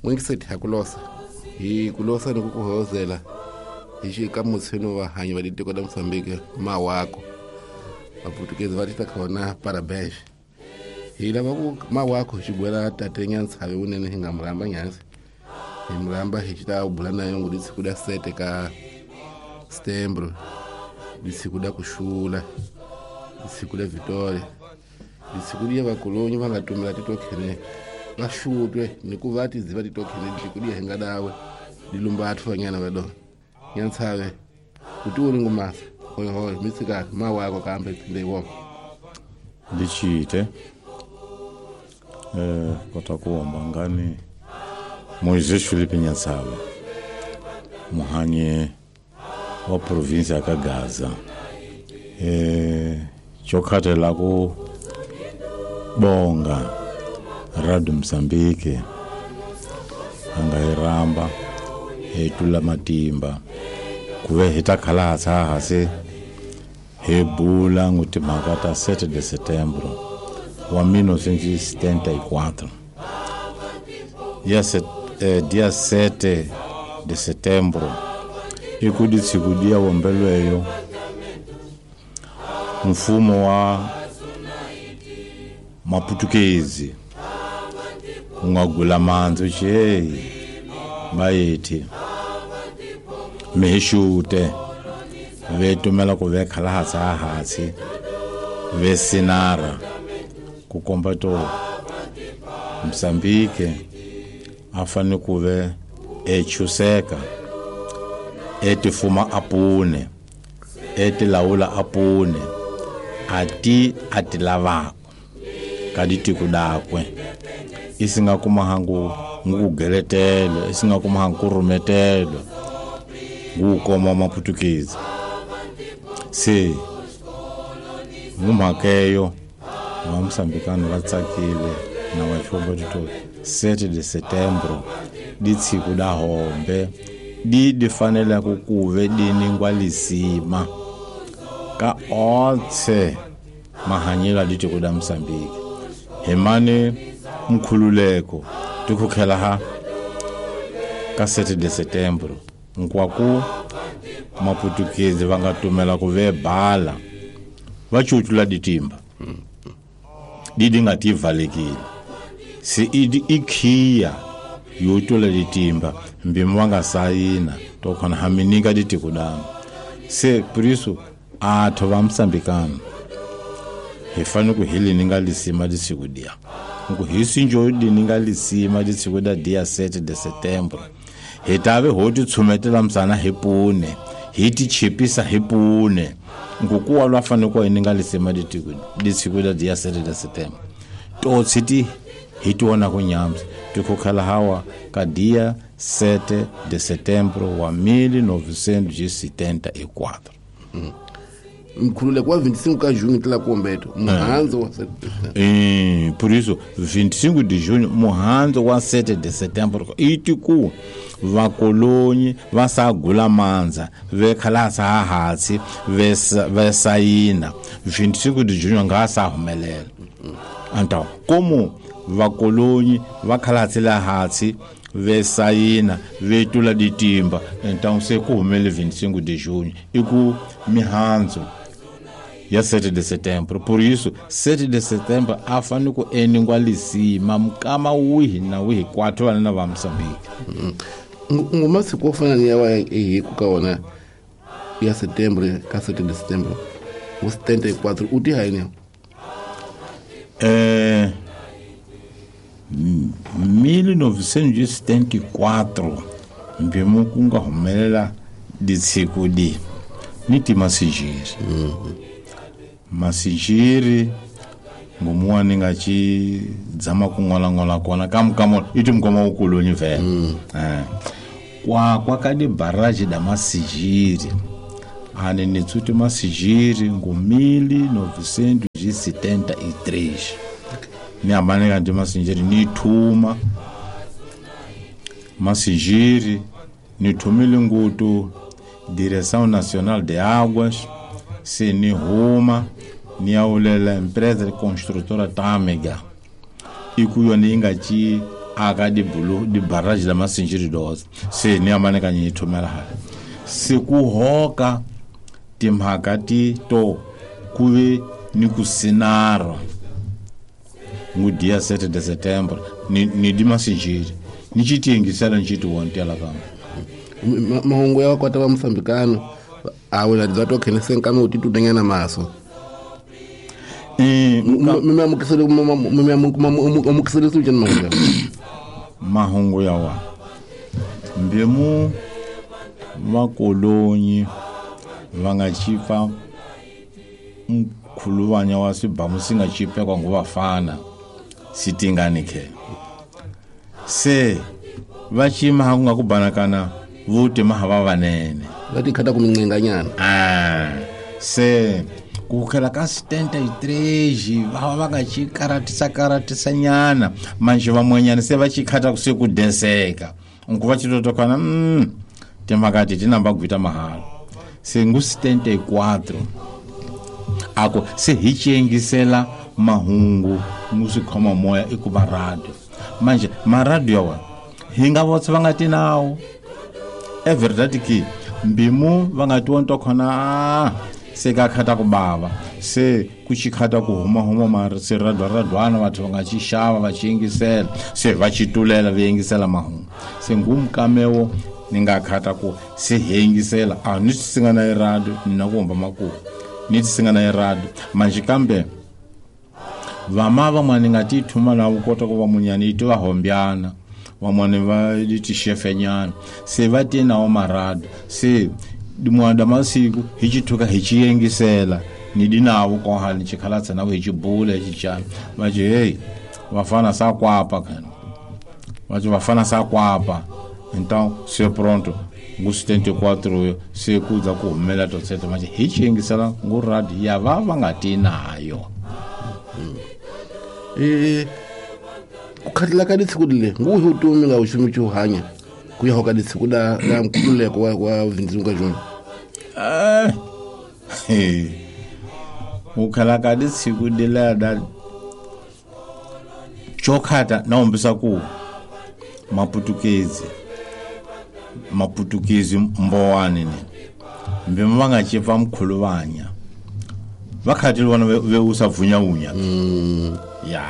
N'wingiseti ha ku losa hi ku losa ni ku ku hoyozela hi xi ka mutshweni wa hanyi va tiko la Mozambique mawako vaputukezi va tita khona parabéns hi lava ku mawako hi xigwela tate Nyantshavi wunene hi nga murhamba nyansi hi murhamba hi xi ta bula na yongo lisiku da sete ka setembro lisiku da kuxula lisiku da Vitória lisiku liya vakolonyi va nga tumela titokhene va xutwe ni ku va tiziva titokhene lisiku liya hi nga dawe lilumba athu vanyana va dona Nyantshavi kutiwoni ngumasa hoyihoyi mitsikaka mawako kambe phinde iwona Ndichite kota kuomba ngani Moisés Felipe Nyantshavi muhanye wa provinsi ya Kagaza chokhatela ku bonga Radio Mozambique anga iramba etula matimba kuve hi ta khala hase hi bula ngutimhaka ta 7 de setembro wa 1974 dia 7 de setembro ikuditsikudia wombelweyo mfumo wa maputukezi ungagula manzi che bayethi mihixute vetumela ku ve khala hatsi ve sinara ku komba to Mozambique a fanele ku ve echuseka etifuma apune etilawula apune ati atilavako ka ditiko dakwe isinga kuma hangu ngugeletelo isinga kuma hangu kurumetelo ngukoma maputukezi se ngumhakeyo va Mosambikano va tsakile na va xombo tito 7 de setembro ditsiku da hombe di di fanele ku kuve di ningwa lisima ka otse mahanyelo ditiko da Mozambique himane mkhululeko tikukhela ha ka 7 de setembro nkwaku maputukezi va nga tumela ku ve bala va cucula ditimba didi nga tivalekile se idi ikhiya yo tula ditimba mbimi wa nga sayina to khona haminika ditiko dama se por isso atho va Mosambikano hi fanele ku hi lininga lisima lisiku dia nku hi sinjo lininga lisima lisiku da dia 7 de setembro hi tave ho ti tshumetela msana hi pune hi ti chipisa hi pune nkukuwa lwa fanele ku hi ninga lisima litiko lisiku da dia 7 de setembro to tshiti hi tiona ku nyamsa tikukhala hawa ka dia 7 de setembro wa 1974 mkhululeko wa 25 ka junho tla kombeto muhanzo wa 7 por isso 25 de junho muhanzo wa 7 de setembro itiku vakolonyi va sagula mandza ve khalasa ha hatsi ve sayina 25 de junho nga sa humelela então como vakolonyi va khalatsela hatsi ve sayina ve tula ditimba então se ku humele 25 de junho iku mihanzo ya 7 de setembro. Por isso 7 de setembro a fanele ku eningwa lisima mukama wihi na wihi kwathu vana na va Mozambique ngumasiku wo fana ni ya wa hi ku ka wona ya setembro ka 7 de setembro wo 74 u ti hayini 1974 mbimu ku nga humelela ditshiku di ni ti masijiri masijiri ngomuwa ni nga ci dzama ku ngola-ngola kona kamukamo iti mukoma ukulonyi vele kwa ka di barrage da masijiri ane ni tsuti masijiri ngo 1973 ni amane ka ndi masijiri ni thuma masijiri ni thumile ngutu Direção Nacional de Águas se ni huma ni aulela empresa construtora Tâmega ikuyo ni nga ci aka di bulu di barrage la Masinjiri doza se ni amane ka nyi thumela hala se ku hoka timhaka ti to kuve ni ku sinara ngu dia 7 de setembro ni di Masinjiri ni chitiengisela nchiti wontela kama mahungu ya kwata va Mosambikano a wena dza to khenese nkame u titudanyana maso mahungu ya wa mbemu vakolonyi va nga chipa mkhuluvanya wa swibamu swi nga chipekwa ngo vafana sitingani ke se va chima ku nga ku banakana vuti mahava vanene va tikhata ku mincenganyana se ku khela ka 73 va va nga chikaratisa karatisa nyana manje vamwenyana se va chikhata ku se ku deseka nku va chitotokana timhaka ti tinamba gwita mahala se ngu 74 ako se hi chiengisela mahungu ngu swi khoma moya i ku va radio manje maradio wa hi nga votsa va nga ti nawo e verdade ki mbimu va nga ti wonto khona se ka khata ku bava se ku chikhata ku huma huma mari se radwa batho va nga chi xava va chiengisela se va chitulela va yengisela mahungu se ngumkamewo ni nga khata ku se hengisela a ni singa na radio ni na ku humba makumu ni singa na radio manje kambe vama van'wana nga ti thuma na ku kota ku va munyani iti va hombyana van'wana va ti xefenyana se va ti nawo marado se dimwanda masiku hi chithuka hi chiyengisela ni dinawo koha ni chikhalatsa na hi chibula hi chichana va chi hey vafana sa kwapa kana va chi vafana sa kwapa então se pronto ngu 74 se kuza ku humela to tseta manje hi chiyengisela ngu radio ya va va nga ti nayo ku khatila ka ditshiku le ngu hi utomi nga uxumi chu hanya ku ya hoka ditshiku la nkululeko wa 25 ka June u khala ka ditshiku de la da chokhata na umbisa ku maputukezi mbowani ni mbe va nga chipa mkhuluvanya va khatile vona ve usa vunyaunya ya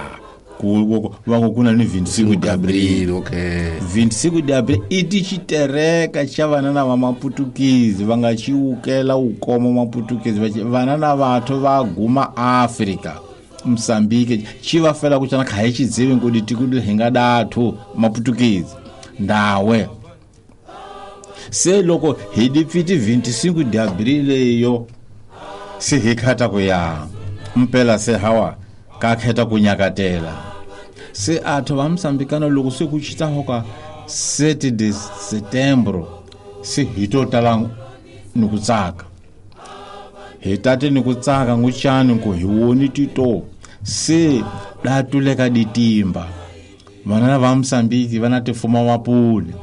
ku va ku na ni 25 de abril okay 25 de abril iti chitereka cha vana na va maputukezi va nga chiukela ukoma maputukezi vana na vathu va guma Africa Mozambique chi va fela ku chana kha hi chidzivi ku ditiko hi nga dathu maputukezi ndawe se loko hi dipfiti 25 de abril yo se hi khata ku ya mpela se hawa ka kheta ku nyakatela se atho va Mosambikano loko se ku chita hoka 7 de setembro se hi to tala ni ku tsaka hi tate ni ku tsaka nguchani ku hi woni tito se datuleka ditimba vana va Mosambiki vana tifuma mapuli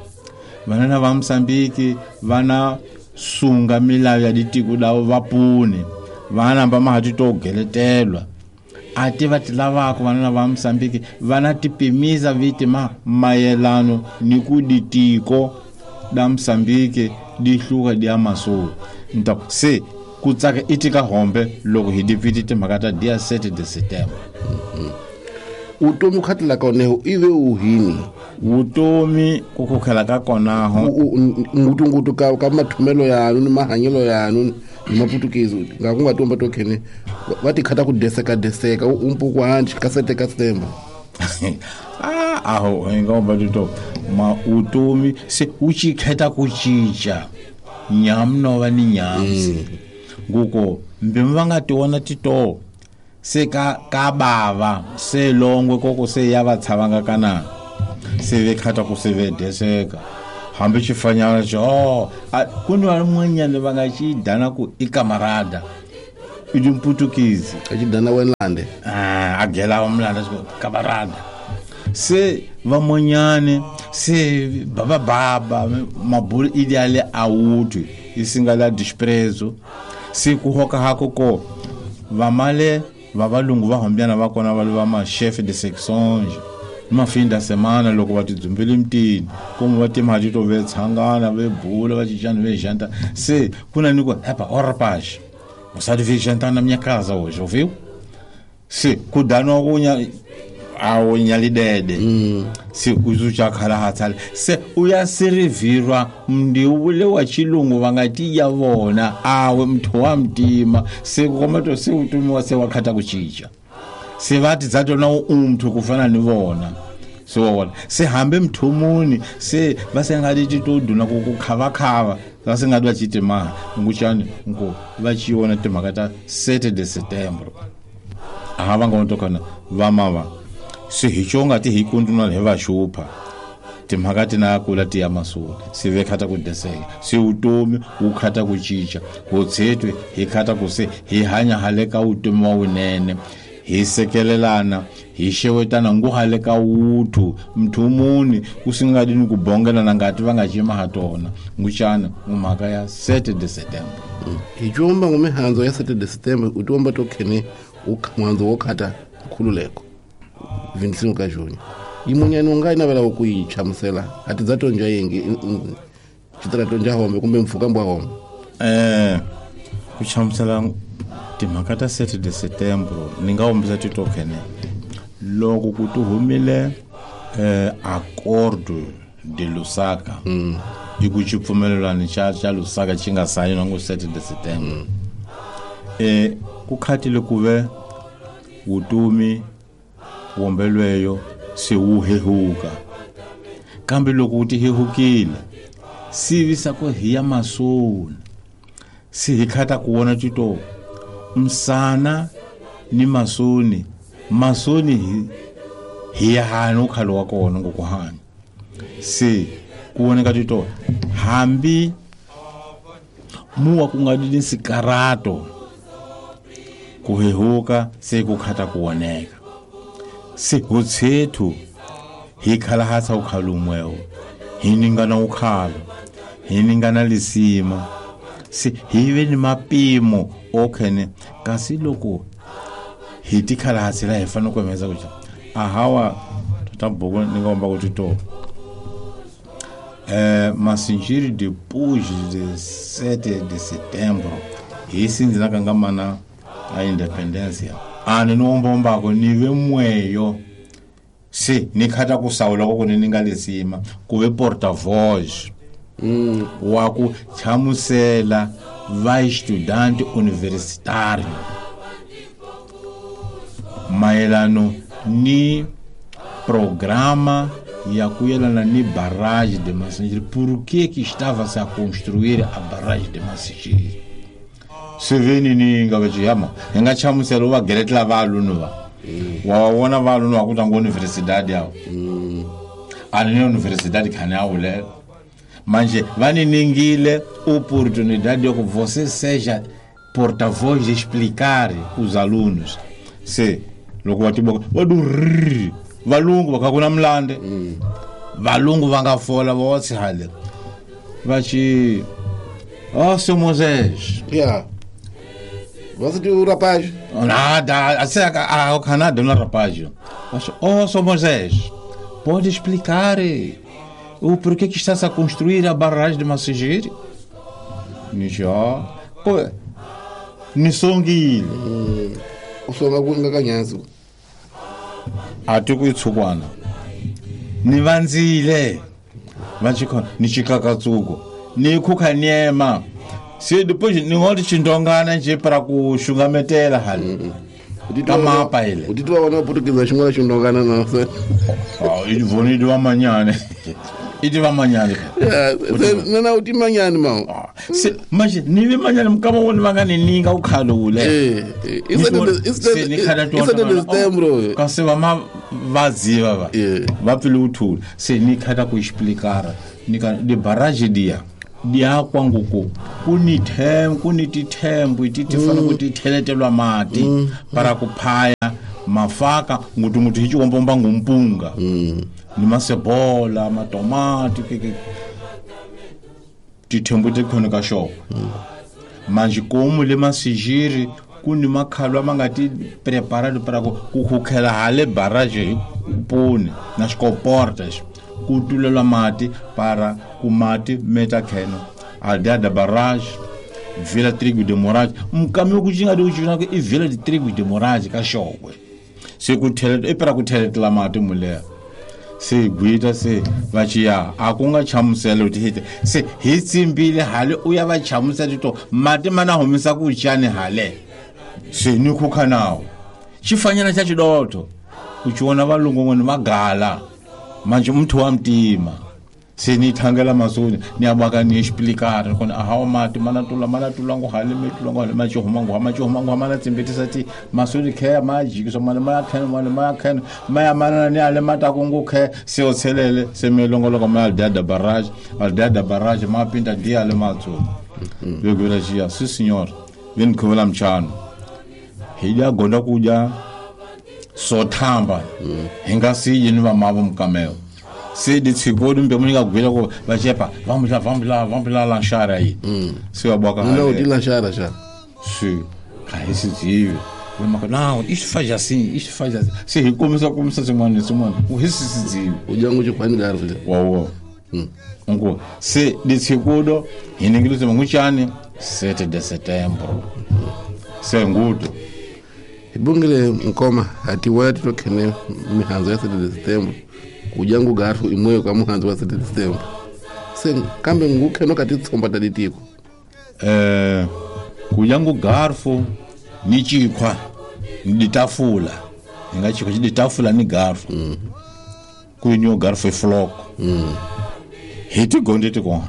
vana va Mosambiki vana sunga milawu ya ditiko lavo vapuni vana va mahati to geletelwa ati va ti lavaka vana va Mosambiki vana tipimisa viti ma mayelano ni ku ditiko da Mosambiki di hluka di amasulu nto se ku tsaka itika hombe loko hi dipfiti timhaka ta dia 7 de setembro utomi khatila ka oneho ive uhini utomi ku khukhela ka konaho ngutungutu ka mathumelo yanu ni mahanyelo yanu ni maputukezi nga ku nga tomba to khene va tikhata ku deseka deseka umpuku hanji ka 7 ka September aho hi nga ba to ma utomi se u chikheta ku cinca nyamu no va ni nyamu nguko mbe va nga tiona tito se ka bava se longwe koko se ya va tshavanga kana se ve khata ku se ve deseka hambi xifanyana xo ku ni van'wanyana va nga xi dana ku i kamarada i dimputukizi a xi dana wenlande a gela wa mulanda xi kamarada se van'wanyani se baba baba mabulu ideale a wutwi isinga la desprezo se ku hoka hako ko vamale va valungu va hombyana va kona va va ma chef de section Mafim da semana loko va tidzumbele mutini komu va timhati to ve tshangana ve bula va cincana ve janta se ku na ni ku epa o rapaz você devia jantar na minha casa hoje ouviu se ku daniwa ku nya awo nyalidede se uzuchakhala hatsale se uyasirivirwa mndiwule wa chilungu vangatiya vona awe mthu wa mtima se komato se utumiwa se wakhata kuchicha se vati dzatona umthu kufana ni vona se wona se hambe mthumuni se vasengati titoduna kukhavakava vasengati vachiti maha nguchani nko vachiona timhaka ta 7 de setembro aha va nga tokana vamava se hi xonga ti hi kunduna hi va xupha timhaka ti na kula ti ya masula se ve khata ku deseka se utomi wu khata ku cinca hotshetwe hi khata ku se hi hanya hale ka utomi wa wunene hi sekelelana hi xewetana ngu hale ka wuthu mthumuni ku singadi ni ku bongelana ngati va nga cima ha tona nguxana mhaka ya 7 de setembro hi cumba ngumihandzo ya 7 de setembro u tiomba to khene muhandzo wo khata nkhululeko 25 ka junho yimunyani u nga yi navela ku yi chamusela a ti dza tonja yengi xitira tonja hombe kumbe mpfhuka mbwa hombe ku chamusela timhaka ta 7 de setembro ni nga hombisa titokhene loko ku ti humile acordo de Lusaka i ku xipfumelelano xa Lusaka xi nga sayiniwa ngo 7 de setembro ku khatile ku ve vutomi wombelweyo se wu hehuka kambe loko wu ti hehukile sivisa ku hi ya masoni se hi khata ku vona tito msana ni masoni masoni hi ya hanya ukhalo wa kona ngokuhanya se ku voneka tito hambi muwa ku nga ni sikarato ku hehuka se ku khata ku voneka se hotshethu hi khala hatsa ukhalumwewo hi ningana ukhalo hi ningana lisima se hi ve ni mapimo okhene kasi loko hi tikhala hatsela hi fanele ku hemeza ku ahawa tata buku ni nga komba ku tito Masinjiri depois de 7 de setembro hi sindzina ka nga mana a independência ani ni ombombako ni ve mweyo se ni khata ku sawula ko ni nga lesima ku ve porta-voz wa ku chamusela va estudante universitário mayelano ni programa ya ku yelana ni barragem de Massingir. Por que que estava-se a construir a barragem de Massingir? Se veni ni nga va chiyama hi nga chamusela va geletela valunu va wa vona valunu va ku tanga universidade yawo ani ni universidade khani awulela manje va ni ningile oportunidade yo que você seja porta-voz de explicar os alunos se loko va tiboka va du valungu va kha ku na mulande valungu va nga fola va wa tshihale va xi oh seu Moisés yeah você tem o rapaz nada assim a Canadá não rapaz oh seu Moisés pode explicar o porquê que está-se a construir a barragem de Massingir nijo pô nisongile o songa ku nga kanyazo a ti ku itsukwana ni vandzile va chikhona ni chikakatsuko ni khukha nyema se depois ni ngoti chindongana nje para ku xungametela hali ka mapa ile u titwa vona portuguese xin'wana xindongana na se ah i voni di wa manyane i di wa manyane na u ti manyane ma se manje ni vi manyane mukama wona va nga ni ninga u khalule i kasi va ma va ziva va va pfile u thula se ni khata ku explicar ni ka di barrage dia dia kwanguku ku ni them ku ni tithembu ti ti fana ku ti theletelwa mati para ku phaya mafaka ngutu ngutu hi xiwombomba ngumpunga ni masebola matomati ke tithembu ti khona ka xoko manje komu le Massingir ku ni makhalwa ma nga ti preparado para ku khukhela hale barrage hi puni na xikoporta xo ku tulelwa mati para ku mati meta kheno aldeia da barrage Vila Trigo de Moraes mukami ku xi nga di ku xi i Vila de Trigo de Moraes ka Xokwe se ku theleta i para ku theletela mati muleha se gwita se va ciya a ku nga chamusela ti hite se hi tsimbile hale u ya va chamusela to mati ma na humisa ku cani hale se ni khukha nawo xifanyana xa xidotho u ci vona valungu n'wini va gala manje muthu wa mtima se ni thangela masoni ni abaka ni explicare kona ahawa mati mana tula mana tula ngo hale me tula ngo hale ma chihuma ngo ma chihuma ngo mana tsimbetisa ti masoni khe ma jikisa mana ma khe mana ma khe ma ya mana ni ale mata ku ngo khe se o tshelele se me longoloka ma aldeia da barrage aldeia da barrage ma pinta dia le matso yo gura jia si senhor vini khuvela mchano hi ya gonda kuja sothamba hi nga siyi ni vamavo mukamelo se ditshikodi mbe munhu nga gwela ku va chepa vambula vambula vambula lanxara yi se va boka não de lanxara já se ka hi se zive va não isto faz assim isto faz assim se hi komisa komisa swin'wana swin'wana u hi se zive u dya nguxi khwani garfu wa wa ngo se ditshikodo hi ningile se nguchani 7 de setembro se nguto hi bungile nkoma hati waya titokhene mihandzo ya 7 de setembro kujangu garfu imweyo ka muhandzo wa 7 de setembro se kambe ngukheno ka titsomba ta ditiko kujangu garfu ni chikhwa ni ditafula hi nga chikhwa ditafula ni garfu ku ni garfu floko hi tigonde tikona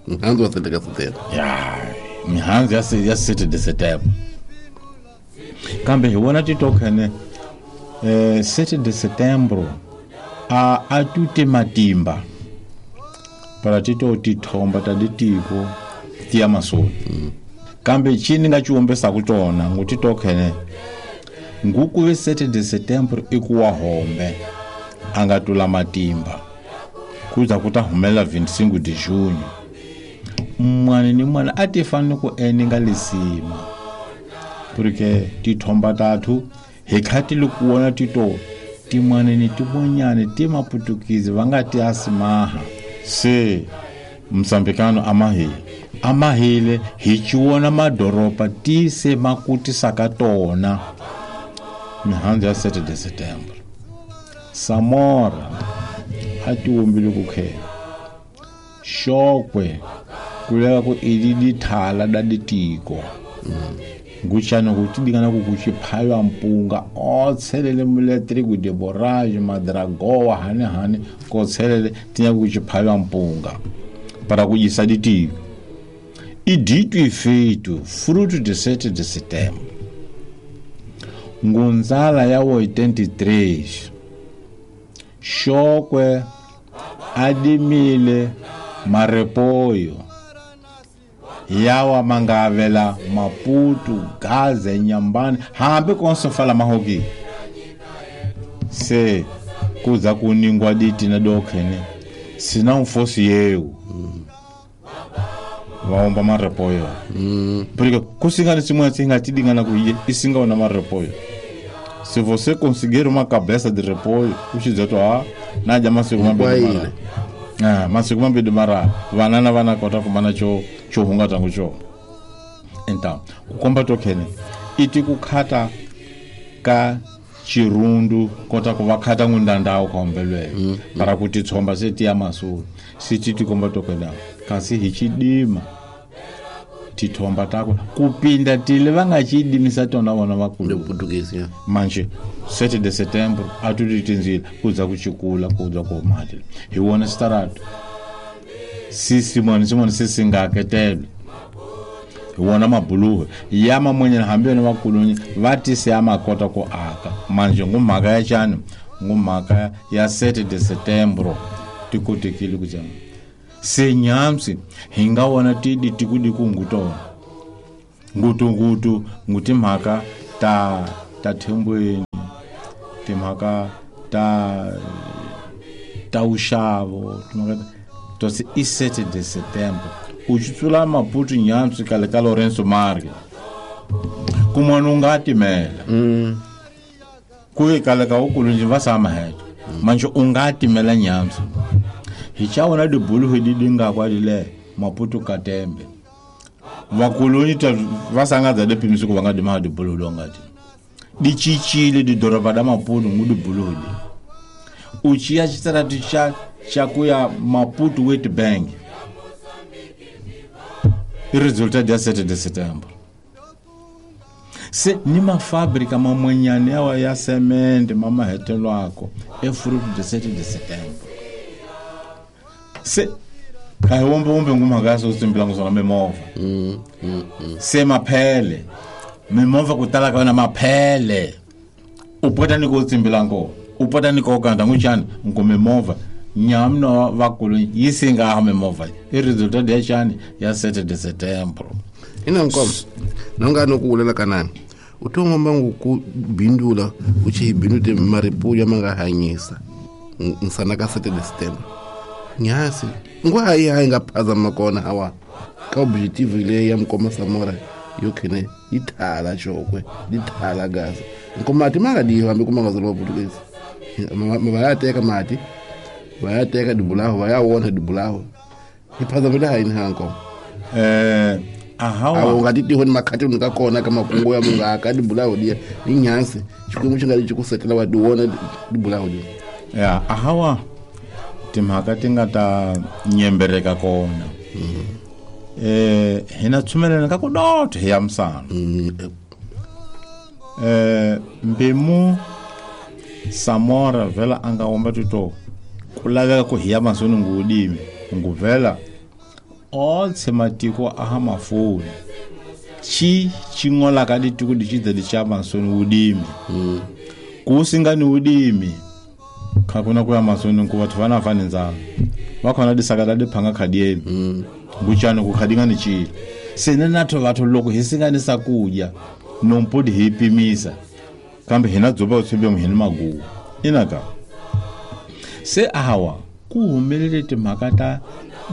muhandzo wa 7 de setembro ya mihandzo ya 7 de setembro kambe hi vona titokhene 7 de setembro a tute matimba para tito tithomba ta ditiko ti ya masoni kambe chini nga chiwombesa ku tona ngu titokhene nguku ve 7 de setembro i ku wa hombe a nga tula matimba kuza ku ta humela 25 de junho mwana ni mwana a ti fanele ku eninga lisima porque tithomba tathu hi khati loko wona tito timwana ni tibonyane ti maputukizi va nga ti asimaha se msambikano amahile hi chiwona madoropa ti se makutisaka tona mihandzu ya 7 de setembro Samora a ti wombile ku khela Xokwe ku leva ku i dithala da ditiko nguchana ku tidingana ku kuchiphaywa mpunga o tshelele muletriku de borage madragoa hane hane ko tshelele tinya kuchiphaywa mpunga para kujisa ditiko e dito e feito fruto de 7 de setembro ngunzala ya 83 Xokwe adimile marepoyo yawa mangavela Maputo Gaza Nyambani hambi konso fala mahoki se kuza kuningwa diti na dokhene sina mfosi yeu vaomba marepoyo porque kusingana simwe singa tidingana kuiye isinga ona marepoyo se você conseguir uma cabeça de repolho uchizeto a naja masiku mambili mara masiku mambili mara vanana vana kota kumana cho chohunga tangu cho então kukomba tokhene iti kukhata ka chirundu kota kuvakhata ngundandao kaombelwe para kuti tsomba seti ya masulu siti tikomba tokhene kasi hichidima tithomba takwe kupinda tile vangachidimisa tona vona vakulu Portuguese manje 7 de setembro atutitinzile kuza kuchikula kuza komati hi wona starato sisi mwana simona sisi ngaketelo hi wona mabuluhe ya mamwenyana hambi yona vakulunyi va tise ya makota ku aka manje ngumhaka ya chani ngumhaka ya 7 de setembro tikotekile ku jama se nyamsi hi nga wona tidi tikudi kungutona ngutungutu ngutimhaka ta thembweni timhaka ta uxavo timhaka to se i 7 de setembro u tsula Maputo nyamsi kale ka Lourenço Marques Kun'wana u nga timela. Ku ve kale ka ukulunji va sama heto. Manje u nga timela nyamso. Hi chawona dibulu di dinga kwa dile Maputo Katembe. Vakulunyi ta va sangadza de pimisi ku va nga dima dibulu do ngati. Di chichile di doroba da Maputo ngu dibulu di. Uchiya chitaratu cha kuya Maputo Wet Bank. I resultat ya 7 de setembro. Se ni mafabrika mamwenyane yawa ya semende mamahetelwako e fruit de 7 de setembro. Se ka wombe wombe ngumhaka so tsimbila nguzona mimovha. Se maphele mimovha ku tala ka yona maphele u pota ni ku tsimbila ngo u pota ni ko kanda nguchani ngu mimovha nyamno vakulu yi singa ha mimovha i resultat ya chani ya 7 de setembro. Ina nkomo nonga no ku ulela kanani u tongomba ngu bindula u chi bindute maripuya manga hanyisa nsana ka 7 de setembro nyasi ngwa hayi nga phazama kona hawa ka objective le ya mkoma Samora yo khene ithala chokwe dithala gaza nkomati manga di hambe kuma ngazolo Portuguese ma teka mati va teka dibulaho va ya wona dibulaho iphazamela hayi hanko ahawa nga ti tihoni makhati nga kona ka makungu ya munga ka dibulaho dia inyansi xikwembu xi nga li ku setela wa diwona dibulaho dia ya ahawa timhaka ti nga ta nyembereka kona. Hina tshumelana ka ku dotho hi ya misana. Mbimu Samora vela anga womba tito ku laveka ku hi ya masoni ngudimi nguvela otse matiko aha mafoni chi chingola ka ditiko dichidza dicha masoni udimi ku singani udimi khakuna ku ya masoni ku batho bana fane nzala ba khona disakala di phanga khadieni nguchana ku khadinga ni chile sene natho batho loko hi singani sakudya nompodi hi pimisa kambe hina dzoba utshembe muhini maguwa inaka se awa ku humelele timhaka ta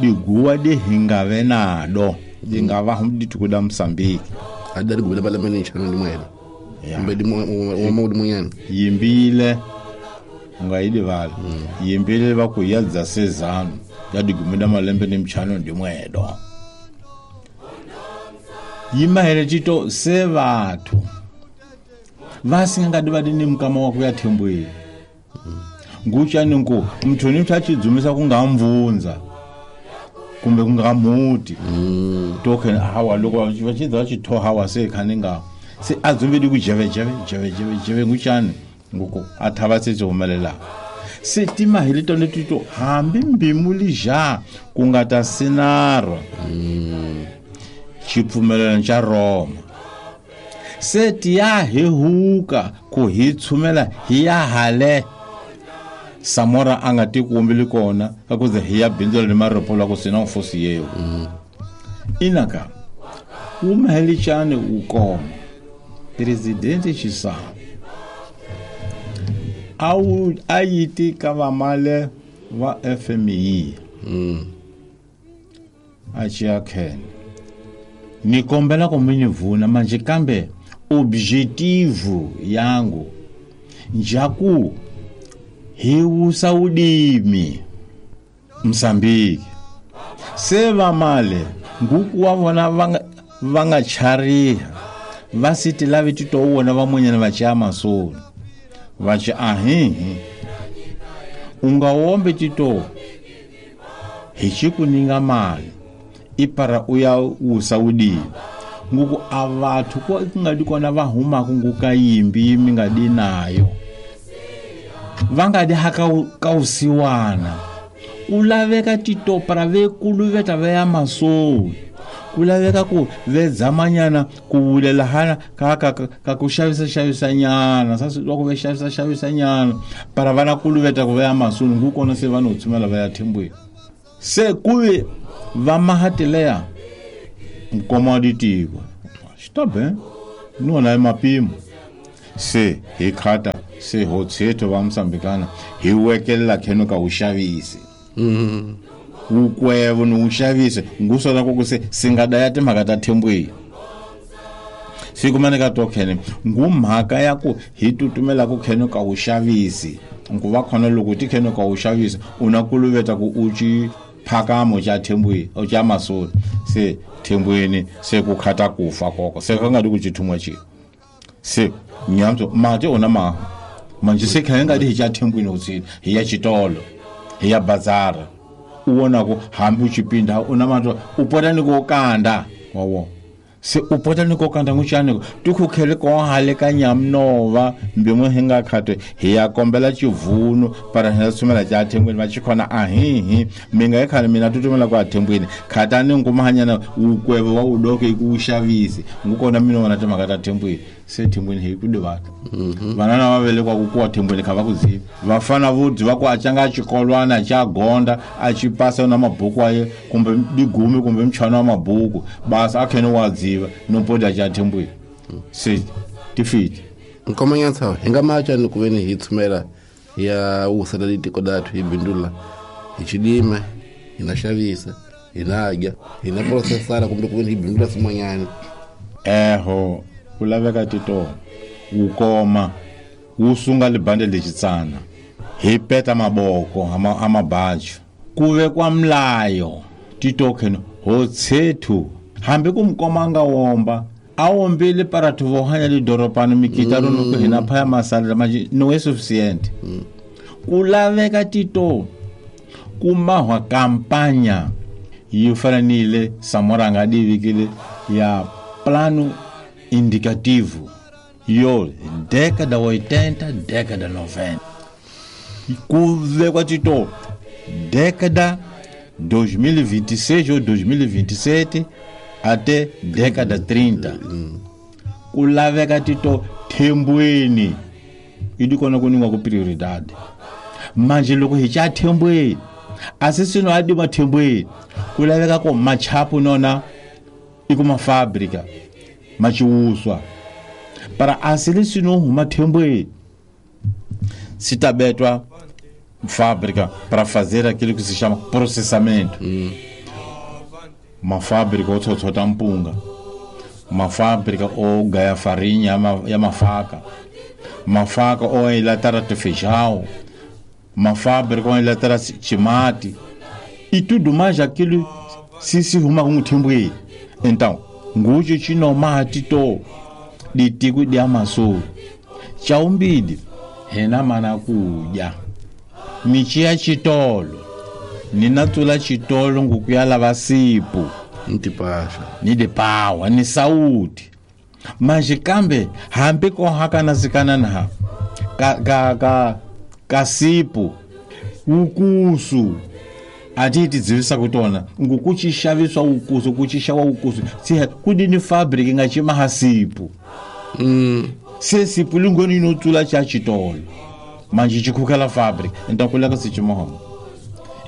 diguwa di hingave nado di nga va dituku da Mozambique adari gubela bala mene chana ndi mwena kumbe di mo di munyana yimbile nga yidivala yimbile va ku yadza sezano ya digumeda malembe ni mchano ndi mwedo yimahele tito se batho va singa di va di ni mukama wa ku ya thembweni nguchani nku mthoni mthu achidzumisa ku nga mvunza kumbe ku nga muti token hawa loko va chidza chitho hawa se khani nga se adzumbe di ku jeve jeve jeve jeve jeve nguchani nguko athava se humelela se timahele tone tito hambi mbimu lija ku nga ta sinarwa xipfumelelo xa Roma se tiya hi huka ku hi tshumela hi ya hale Samora a nga tikumbili kona ka ku ze hi ya bindzu ni maripo la ku sina mfosi yeo inaka umhelichane ukoma presidente Chissano au ayiti ka vamale va FMI achia ken ni kombela ku mi ni vuna manje kambe objetivo yangu njaku hi wusa udimi Mozambique se vamale nguku wa vona va nga chariha va siti lavi tito wona van'wanyana va cha masoni va chi ahihi u nga wombe tito hi xiku ninga mali ipara u ya wusa udimi nguku a vathu ku nga di kona va humaka nguka yimbi mi nga di nayo va nga di haka ka usiwana ku laveka titopara vekuluveta va ya masoni ku laveka ku vedzamanyana ku vulela hana ka ku xavisa xavisanyana sasi loko ve xavisa xavisanyana para vana kuluveta ku va ya masoni ngu kona se va no tshumela va ya thembweni se kuve va mahatileya nkoma wa ditiko xitabe ni wona hi mapimo se hi khata se ho tshetho va Mozambikana hi wekelela kheno ka uxavisi wukwevo ni uxavisi ngusona ku se singada ya timhaka ta thembweni Sikumaneka tokhene ngumhaka ya ku hi tutumela ku khene ka wu xavisi nku va khona loko ti khene ka wu xavisi u na kuluveta ku u ci phakamo xa thembweni o xa masoni se thembweni se ku khata kufa koko se ka nga di ku cithumwa ci se nyamso mati ona ma manje se khene nga di hi xa thembweni utsini hi ya xitolo hi ya bazara u vona ku hambi u cipinda u na mato u pota ni ku kanda wa wona se u pota ni ko kanda nguxani tikhukhele ko hale ka nyamnova mbimwe hi nga khate hi ya kombela chivunu para hi tsumela cha thembweni va chikhona ahihi mi nga khale mina tutumela kwa thembweni khatani ngumahanyana ukweve wa udoke ku xavisi ngukona mina wona timhaka ta thembweni se thembweni hi ku divata vanana va velekwa ku kuwa thembweni kha va ku zivi vafana vo dyi ku a canga xikolwana xa gonda a xi pasa na mabuku aye kumbe digumi kumbe mchana wa mabuku basa a khene wa dziva no poda xa thembweni se tifiti nkomanyatsa hi nga macha ni ku veni hi tshumela ya wusela litiko dathu hi bindula hi xilime hi na xavisa hi na dya hi na processara kumbe ku veni hi bindula swin'wanyana eho ku laveka titolo wu koma wu sunga libande lexitsana hi peta maboko a mabajo ku vekwa mlayo titoken ho tshethu hambi ku mukoma nga womba a wombile parathu vo hanya lidoropani mikita rono ku hina phaya masalela manje no é suficiente ku laveka tito ku mahwa kampanya yi fana ni ile Samora nga divikile ya plano indicativo yo década 80 década 90 ku vekwa tito década 2026 ou 2027 até década 30 ku laveka tito thembweni yi di kona ku ningwa ku prioridade manje loko hi xa thembweni a se swino a dima thembweni ku laveka ku machapu nona i ku mafabrika machiwuswa para a se le swino huma thembweni se ta betwa fábrica para fazer aquilo que se chama processamento. Uma fábrica ou tsotsota mpunga, uma fábrica ou ganha farinha ya mafaka, uma faca ou enlatara de feijão, uma fábrica ou enlatara chimate e tudo mais aquilo se ruma com o tempo aí. Então, ngujo chinomati to ditiku dia maso chaumbidi hena mana kuja michiya chitolo ninatsula chitolo ngukuyala vasipu ntipasha ni dipawa ni sauti manje kambe hambi ko hakana sikana na ka ka sipu ukusu atiti dzivisa kutona ngukuchishaviswa ukusu kuchishawa ukusu siha kudini fabric nga chimaha sipu se sipu lingoni inotsula cha chitolo manje chikukela fabric então kuleka sichimoho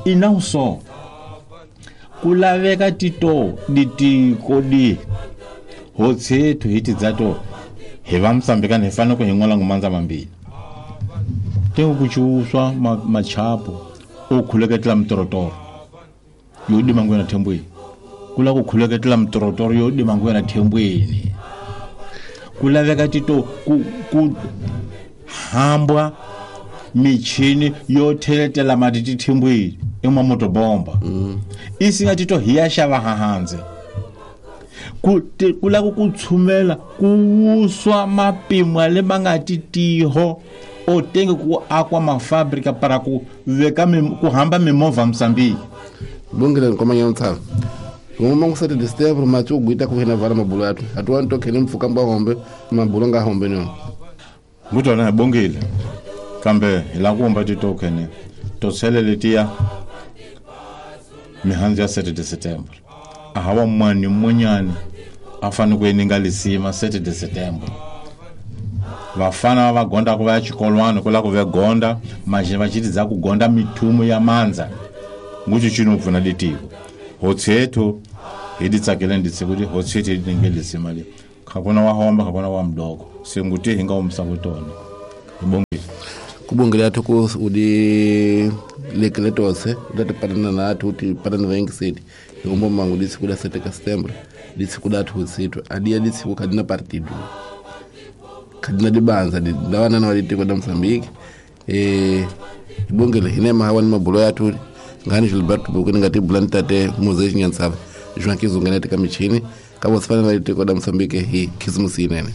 e não só kulaveka tito ditiko di hotsethu hi tidzato hi va Mosambikani hi fanele ku hi n'wala ngumandza mambili tengo kuchiuswa machapo o khuleketela mitorotoro yo dima ngwena thembweni kula ku khuleketela mitorotoro yo dima ngwena thembweni kulaveka tito ku hambwa michini yo theletela mati tithembweni emamotobomba isinga tito hi ya xava hahandze ku lava ku tshumela ku wuswa mapimo le ma nga titiho o tenge ku akwa mafabrika para ku veka ku hamba mimovha Mosambiki bongile nkomanya ntshava ngoma ngusati disturb machu guita ku hina vala mabulo yathu atuwa ntokhele mfuka mba hombe mabulo nga hombe no ngutona bongile kambe hi la ku humba titoken to tsheleletiya mihandzu ya 7 de setembro a hawa mwani munyani a fanele ku eninga lisima 7 de setembro vafana va gonda ku va ya xikolwana ku la ku ve gonda manje va chitidza ku gonda mithumu ya mandza ngucho chino pfuna litiko hotsethu hi ditsakele nditse kuti hotsethu hi dinge lisima le khakona wa homba khakona wa mdoko se nguti hi nga umsa kutona ibongile kubongile yathu ku udi lekele tose utati patana nathu uti patana vengiseti hikumbo mangu disi kuda 7 ka setembro Ditsiku dathu utsitu adiya ditsiku kadina partido kadina dibanza dawanana wa ditiko da Mozambique ibongele hinema hawa ni mabulo yathu ngani Gilberto Bukuni ngati bulani tate Mose Nyansava João Kizungene tika michini kabo sifana na ditiko da Mozambique hi Khisimusi inene.